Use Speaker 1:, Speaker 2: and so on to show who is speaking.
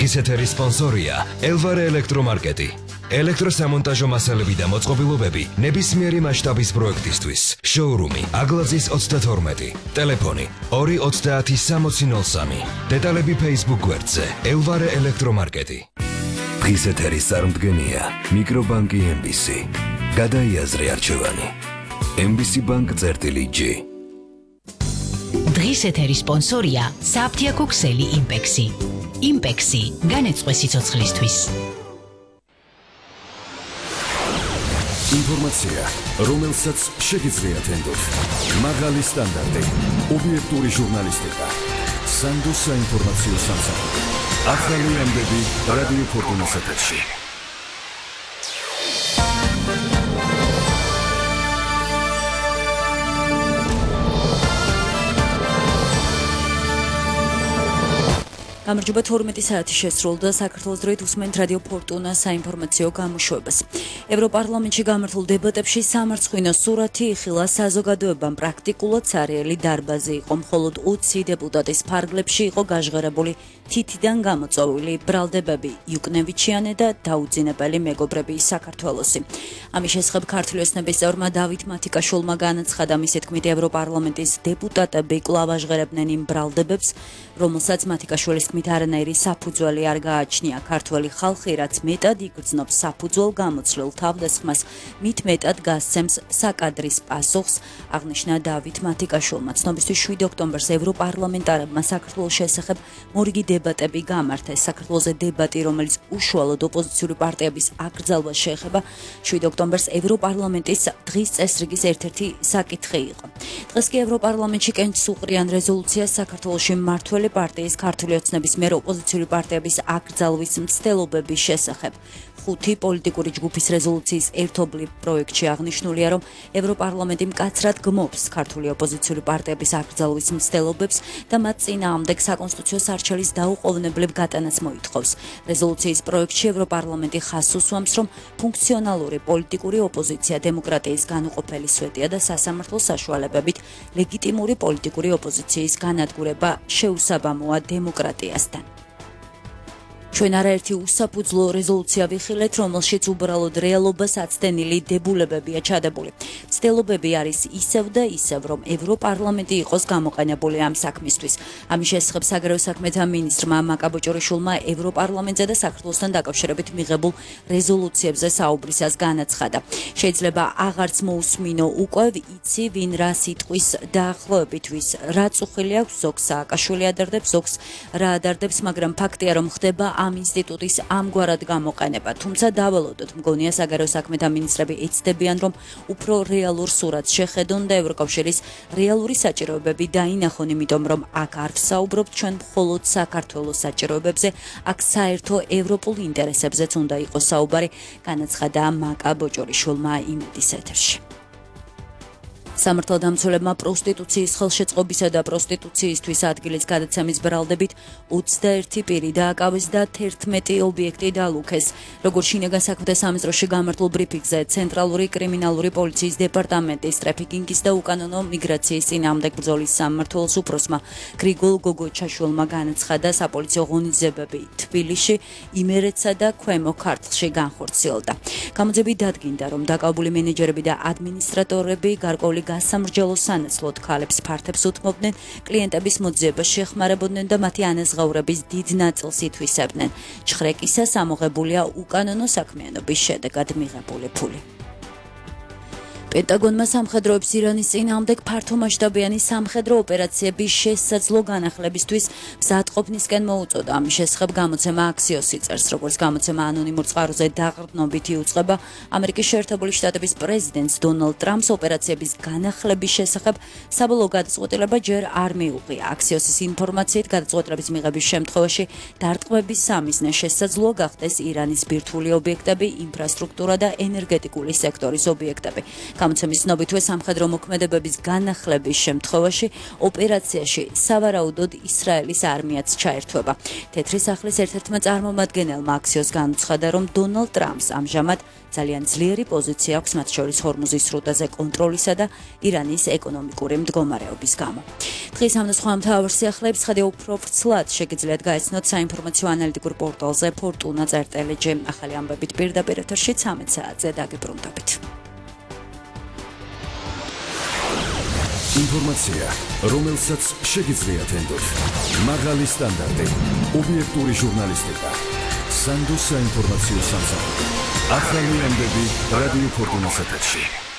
Speaker 1: დღის ეთერის სპონსორია ელვარე ელექტრომარკეტი. ელექტროსამონტაჟო მასალები და მოწყობილობები ნებისმიერი მასშტაბის პროექტისთვის. შოურუმი აგლაძის 32. ტელეფონი 2306003. დეტალები Facebook გვერდზე ელვარე ელექტრომარკეტი. დღის ეთერის წარმდგენია მიკრობანკი MBC. გადაიაზრე არჩევანი. MBC Bank-G.
Speaker 2: დღის ეთერის სპონსორია საფთიაქო ქსელი იმპექსი. იმპექსი განეწყვე სიცოცხლისთვის.
Speaker 3: ინფორმაცია, რომელსაც შეგიძლიათ ენდოთ. მაღალი სტანდარტი, ობიექტური ჟურნალისტიკა. სანდო საინფორმაციო სამსახური. ახალი ამბები რადიო ფორტუნას ეთერში.
Speaker 4: გამარჯობა 12 საათი შესრულდა საქართველოს დროით უსმენთ რადიო ფორტუნა საინფორმაციო გამოშვებას. ევროპარლამენტში გამართულ დებატებში სამარცხვინო სურათი იხილა საზოგადოებამ პრაქტიკულად სარიელი დარბაზი იყო, მხოლოდ 20 დეპუტატის ფარგლებში იყო გაჟღერებული თითიდან გამოწვეული ბრალდებები იუკნევიჩიანე და დაუძინებელი მეგობრები საქართველოსი. ამის შესახებ ქართული ოცნების წევრმა დავით მათიკაშვილმა განაცხადა, მისი თქმით ევროპარლამენტის დეპუტატები კვლავ აჟღერებდნენ იმ ბრალდებებს, რომელსაც მათიკაშვილის თქმით არანაირი საფუძველი არ გააჩნია. ქართველი ხალხი რაც მეტად იგრძნობს საფუძველ გამოცვლილ თავდასხმას, მით მეტად გასცემს საკადრის პასუხს, აღნიშნა დავით მათიკაშვილმა. ცნობისთვის 7 ოქტომბერს ევროპარლამენტარებმა საქართველოს შესახებ მორიგი დებატები გამართეს. საქართველოზე დებატი, რომელიც უშუალოდ ოპოზიციური პარტიების აკრძალვას შეეხება, 7 ოქტომბერს ევროპარლამენტის დღის წესრიგის ერთ-ერთი საკითხი იყო. დღეს კი ევროპარლამენტში კენჭს უყრიან რეზოლუციას საქართველოში მმართველი პარტიის ქართული ოცნების მიერ ოპოზიციური პარტიების აკრძალვის მცდელობების შესახებ. 5 პოლიტიკური ჯგუფის რეზოლუციის ერთობლივ პროექტში აღნიშნულია, რომ ევროპარლამენტი მკაცრად გმობს ქართული ოპოზიციური პარტიების აკრძალვის მცდელობებს და მათ წინააღმდეგ საკონსტიტუციო სარჩელის დაუყოვნებლივ გატანას მოითხოვს. რეზოლუციის პროექტში ევროპარლამენტი ხაზს უსვამს, რომ ფუნქციონალური პოლიტიკური ოპოზიცია დემოკრატიის განუყოფელი სვეტია და სასამართლო საშუალებებით ლეგიტიმური პოლიტიკური ოპოზიციის განადგურება შეუსაბამოა დემოკრატიასთან. ჩვენ არაერთი უსაფუძვლო რეზოლუცია ვიხილეთ, რომელშიც უბრალოდ რეალობას აცდენილი დებულებებია ჩადებული. მცდელობები არის ისევ და ისევ, რომ ევროპარლამენტი იყოს გამოყენებული ამ საქმისთვის. ამის შესახებ საგარეო საქმეთა მინისტრმა მაკაბოჭორიშვილმა ევროპარლამენტზე და საქართველოსთან დაკავშირებით მიღებულ რეზოლუციებზე საუბრისას განაცხადა. შეიძლება აღარც მოусმინო უკვე იცი ვინ რა სიტყვის დაახლოებით ვის რა წუხილი აქვს, ზოგს სააკაშვილი ადარდებს, ზოგს რა ადარდებს, მაგრამ ფაქტია, რომ ხდება ამ ინსტიტუტის ამგვარად გამოყენება. თუმცა დავალოდოთ, მგონია საგარეო საქმეთა მინისტრები ეცდებიან, რომ უფრო რეალურ სურათს შეხედონ და ევროკავშირის რეალური საჭიროებები დაინახონ, იმიტომ რომ აქ არ ვსაუბრობთ ჩვენ მხოლოდ საქართველოს საჭიროებებზე, აქ საერთო ევროპულ ინტერესებზეც უნდა იყოს საუბარი, განაცხადა მაკაბოჭორიშვილმა იმედის ეთერში. სამართალდამცველებმა პროსტიტუციის ხელშეწყობისა და პროსტიტუციისთვის ადგილის გადაცემის ბრალდებით 21 პირი დააკავეს და 11 ობიექტი დალუქეს. როგორც შინაგან საქმეთა სამინისტროში გამართულ ბრიფინგზე ცენტრალური კრიმინალური პოლიციის დეპარტამენტის ტრაფიკინგის და უკანონო მიგრაციის წინააღმდეგ ბრძოლის სამმართველოს უფროსმა გრიგოლ გოგოჩაშვილმა განაცხადა, საპოლიციო ღონისძიებები თბილისში, იმერეთსა და ქვემო ქართლში განხორციელდა. გამოძიებით დადგინდა, რომ დაკავებული მენეჯერები და ადმინისტრატორები გარკვეული გასამრჯელო სანაცვლოდ ქალებს ფართებს უთმობდნენ, კლიენტების მოძიებას შეხმარებოდნენ და მათი ანაზღაურების დიდ ნაწილს ითვისებდნენ. ჩხრეკისა სამოღებულია უკანონო საქმიანობის შედეგად მიღებული ფული. პენტაგონმა სამხედროებს ირანის წინააღმდეგ ფართომასშტაბიანი სამხედრო ოპერაციების შესაძლო განახლებისთვის მზადყოფნისკენ მოუწოდა. ამის შესახებ გამოცემა აქსიოსი წერს, როგორც გამოცემა ანონიმურ წყაროზე დაყრდნობით იუწყება, ამერიკის შეერთებული შტატების პრეზიდენტს დონალდ ტრამპს ოპერაციების განახლების შესახებ საბოლოო გადაწყვეტილება ჯერ არ მიუღია. აქსიოსის ინფორმაციით, გადაწყვეტილების მიღების შემთხვევაში დარტყმების სამიზნე შესაძლოა გახდეს ირანის ბირთვული ობიექტები, ინფრასტრუქტურა და ენერგეტიკული სექტორის ობიექტები. გამოცემის ცნობითვე სამხედრო მოქმედებების განახლების შემთხვევაში ოპერაციაში სავარაუდოდ ისრაელის არმიაც ჩაერთვება. თეთრი სახლის ერთ-ერთმა წარმომადგენელმა აქციოს განუცხადა, რომ დონალდ ტრამპს ამჟამად ძალიან ძლიერი პოზიცია აქვს მათ შორის ჰორმუზის სრუტეზე კონტროლისა და ირანის ეკონომიკური მდგომარეობის გამო. დღის ამ და სხვა მთავარ სიახლეებს ხედავ უფრო ვრცლად შეგიძლიათ გაიცნოთ საინფორმაციო ანალიტიკურ პორტალზე fortuna.lg. ახალი ამბებით პირდაპირ ეთერში 13 საათზე დაგიბრუნდებით.
Speaker 3: ინფორმაცია, რომელსაც შეგიძლიათ ენდოთ. მაღალი სტანდარტი, ობიექტური ჟურნალისტიკა. სანდოს საინფორმაციო სამსახური. ახალი ამბები რადიო ფორტუნას ეთერში.